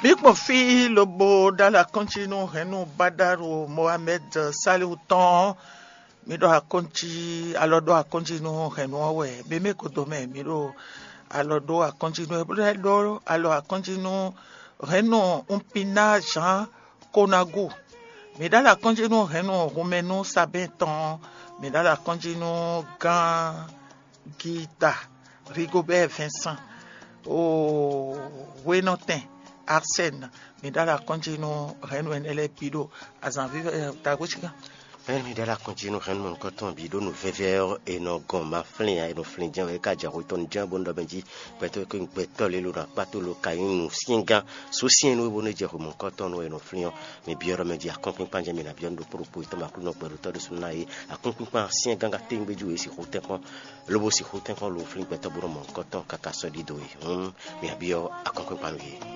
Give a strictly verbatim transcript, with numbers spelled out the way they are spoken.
Mǐ gbɔn fí lobo ɖó alɔ akɔ́njí nú hɛ̌nnu Badaru Mohamɛd Salihu tɔn. Mǐ ɖo akɔ́njí alɔ ɖó akɔ́njí nú hɛ̌nnu ɔ́ wɛ. Mɛ mɛ kodo mɛ mǐ ɖo alɔ ɖó akɔ́njí nú ɛ bó lɛ́ ɖó alɔ akɔ́njí nú hɛ̌nnu Unpina Jean Konagu. Mǐ ɖó alɔ akɔ́njí nú hɛ̌nnu Hunmɛnu Sabɛ́n tɔn. Mǐ ɖó alɔ akɔ́njí nú gán Gita, Rigobɛ́ɛ Vɛnsan, oo, hwenɔtɛn Arsɛn. Mǐ ɖó alɔ akɔ́njí nú hɛ̌nnu ɛnɛ lɛ́ɛ bǐ ɖo azǎn vívɛ́ tagbócígán. Ɛ́nɛ́ mǐ ɖó alɔ akɔ́njí nú hɛ̌nnu mɔ̌hunkɔtɔn bǐ ɖó nǔ vɛ́vɛ́ ɔ́, è nɔ gɔn ma flín ǎ, è nɔ flín jɛ́n wɛ, é ka jɛ hwetɔ́nu jɛ́n bónú ɖɔ mɛ jí gbɛtɔ́ e ko nyí gbɛtɔ́ lě lo ɖo akpá tó lo ka nyí nǔsyɛ́ngán sú syɛ́n nú é bónú é jɛ hwemɔ̌hunkɔtɔn nú é nɔ flín ɔ́. Mi byɔ́ ɖɔ mɛ jí akɔ́nkpinkpan jɛ́n mi ná byɔ́ nú ɖokpó ɖokpó e tɔn ma Aklúnɔ gbɛɖotɔ́ ɖésú ná é. Akɔ́nkpinkpan syɛ́ngán ka téwúngbéjú e sixú tɛ́nkpɔ́n lobo sixú tɛ́nkpɔ́n lo flín gbɛtɔ́ bó nɔ mɔ nǔkɔntɔn káká sɔ́ ɖidó e. Hǔn mi ná byɔ́ akɔ́nkpinkpan nú yě.